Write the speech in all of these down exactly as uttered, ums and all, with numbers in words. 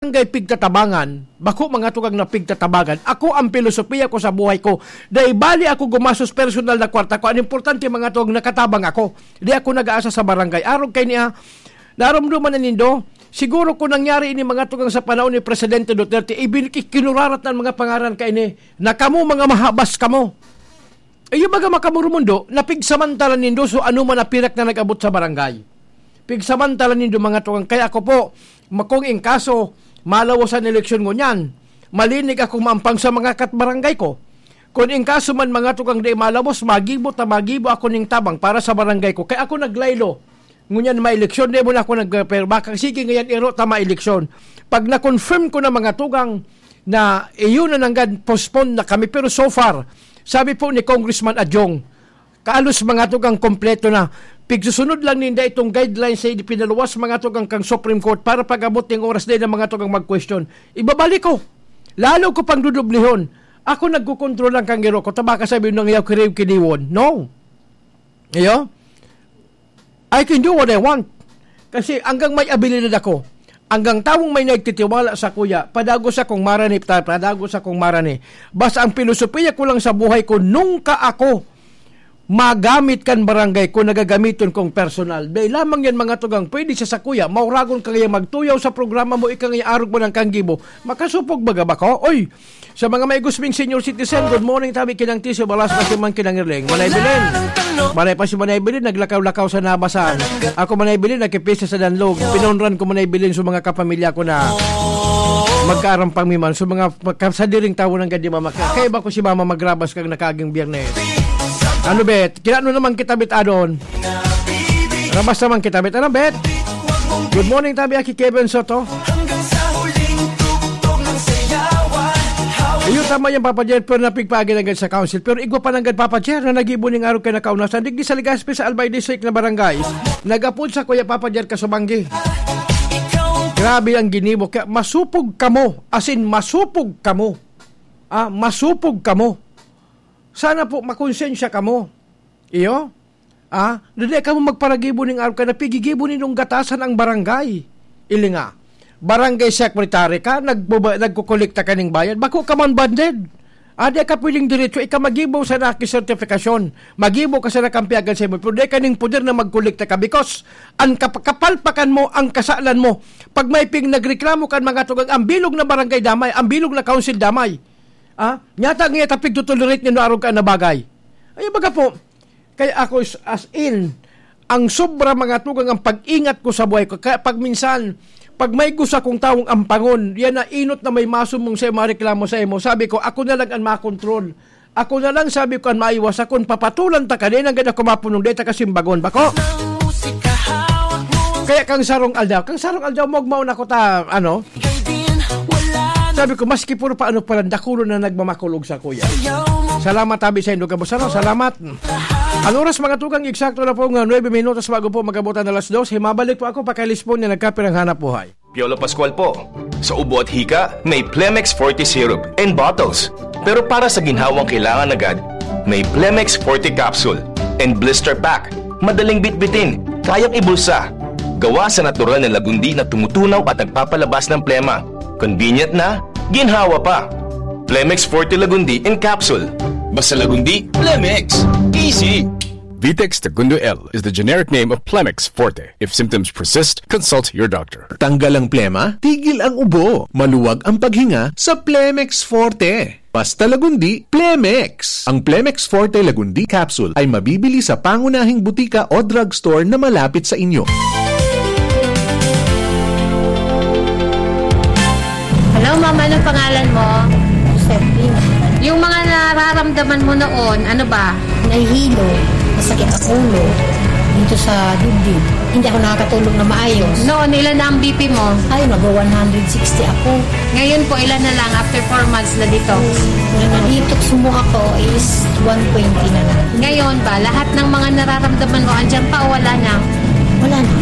barangay pigtatabangan, bako mga tugang na pigtatabangan. Ako, ang pilosopiya ko sa buhay ko, dai bali ako gumastos personal na kwarta ko. Ang importante, mga tugang, nakatabang ako. Di ako nag-aasa sa barangay. Arog kay niya, narumduman na nindo, siguro kung nangyari ini, mga tugang, sa panahon ni Presidente Duterte, ibin-, kinurarat ng mga pangaran kay ini, na kamo mga mahabas kamo. Iyo baga makamurumundo, na pigsamantala nindo so ano man na pirak na nag-abot sa barangay. Pigsamantala nindo, mga tugang. Kaya ako po, ma-, kung in kaso, malawos an eleksyon ngunyan, malinig ako maampang sa mga katbarangay ko. Kung in kaso man, mga tugang, di malawos, magibo ta magibo ako ning tabang para sa barangay ko. Kaya ako naglaylo. Ngunyan may eleksyon, di mo na ako nag-, pero baka sige ngayon, iro ta may eleksyon. Pag na-confirm ko na, mga tugang, na iyon na nanggad, postpone na kami. Pero so far, sabi po ni Congressman Adjong, kalos, mga tugang, kompleto na. Pigsusunod lang ninda itong guidelines na ipinaluwas, mga tugang, kang Supreme Court para pag-abot ng oras din ng mga tugang mag-question. Ibabalik ko. Lalo ko pang dudublihon. Ako nagkukontrol lang kang iro ko. Tabaka sabi nang yaw kiriw kiniwon. No. Iyo? I can do what I want. Kasi hanggang may abilidad ako, hanggang tawong may nagtitiwala sa kuya, padagos akong marani, ta-, padagos akong marani. Basta ang pilosopiya ko lang sa buhay ko, nungka ako magamit kan barangay ko, nagagamiton kong personal. Dahil lamang yan, mga tugang, pwede siya sa kuya, mauragon ka ngayon magtuyaw sa programa mo, ika ngayon arog mo ng kanggibo. Makasupog baga ba ko? Oy, sa mga may gusming senior citizen, good morning, tabi kinang tiso, balas na si Man Kinang Irling. Manay Belen. Manay pa si Manay Belen, naglakaw-lakaw sa nabasan. Ako, Manay Belen, nakipisa sa danlog. Pinonran ko, Manay Belen, sa mga kapamilya ko na magkaarampang mi man. Sa mga pagkasadiring tawo ng gadi mama. Kaya ba ko si mama magrabas kang nakaging biyernes? Ano, bet? Kinano naman kita, bet, adon? Rabas naman kita, bet. Ano, bet? Good morning, tabi, aki Kevin Soto. Iyo, tama yan, Papa Jer, pero napigpaagi nanggad sa council. Pero igwa pa nanggad, Papa Jer, na nagibo ning arog kay nakaunasan. Digdi sa Legazpi, sa Albay District na barangay. Nagapod sa kuya, Papa Jer, kasubanggi. Grabe ang ginibo. Kaya masupog kamo. As in, masupog kamo. Ah, masupog kamo. Sana po, makonsensya kamo. Iyo? Ah, dai kamo magparagibo ning arog kay napigigibo nindong gatasan ang barangay. Ili nga, barangay secretary ka, nagbuba-, nagkukolekta ka ning bayad, bako ka man banded. Ah, di ka pwedeng diretso, ika magibo sa naki sertifikasyon. Magibo ka sa nakampiyagan sa imo, pero di ka ning poder na magkolekta ka because ang kap-, kapalpakan mo, ang kasalan mo. Pag may ping nagreklamo kan mga tugang, ang bilog na barangay damay, ang bilog na council damay. Ah, nyata nga tapig tutolerate nindo arog ka na bagay. Ay, baga po, kaya ako is, as in, ang sobra mga tugang ang pag-ingat ko sa buhay ko. Kaya pag minsan, pag may gusto akong taong ampangon, yan na inot na may masumong sa mareklamo sa imo. Sabi ko, ako na lang ang makontrol. Ako na lang, sabi ko, ang maiwas. Ako, papatulan ta ka, di na gad ako mapunong, di ta kasimbagon. Bako? Kaya kang sarong aldaw, kang sarong aldaw, magmaon ako ta, ano? Sabi ko, maski puro pa ano pala, dakulo na nagmamakulog sa kuya. Salamat, tabi sa indo, kabusano. Salamat. Ang oras, mga tugang, eksakto na po nga nuebe minutos bago po mag-abot ang alas dos. Himabalik po ako, pakalispo niya nagkapirang hanap buhay. Piolo Pascual po. Sa ubo at hika, may Plemex Forte Syrup and bottles. Pero para sa ginhawang kailangan agad, may Plemex Forte Capsule and Blister Pack. Madaling bitbitin, kayang ibulsa. Gawa sa natural na lagundi na tumutunaw at nagpapalabas ng plema. Convenient na, ginhawa pa. Plemex Forte Lagundi in Capsule. Basta Lagundi, Plemex. Easy! Vitex Tagundo L is the generic name of Plemex Forte. If symptoms persist, consult your doctor. Tanggal ang plema, tigil ang ubo, maluwag ang paghinga sa Plemex Forte. Basta Lagundi, Plemex! Ang Plemex Forte Lagundi Capsule ay mabibili sa pangunahing butika o drugstore na malapit sa inyo. Hello, ma'am. Anong pangalan mo? Josephine. Yung mga nararamdaman mo noon, ano ba? Nahihilo, masakit ang ulo, dito sa dibdib. Hindi ako nakakatulog na maayos. Noon, ilan na ang B P mo? Ay, mag-one hundred sixty ako. Ngayon po, ilan na lang after four months na dito? Ngayon, na-detox mo ako is one twenty na lang. Ngayon ba, lahat ng mga nararamdaman mo, andyan pa o wala na? Wala na.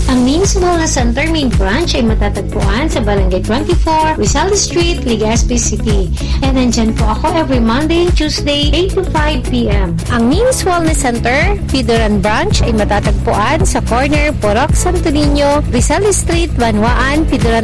Ang Means Wellness Center main branch ay matatagpuan sa Barangay twenty-four, Rizal Street, Legazpi City. And nandyan po ako every Monday and Tuesday, eight to five p.m. Ang Means Wellness Center, Pidoran Branch, ay matatagpuan sa corner Purok Santo Niño, Rizal Street, Banwaan, Pidoran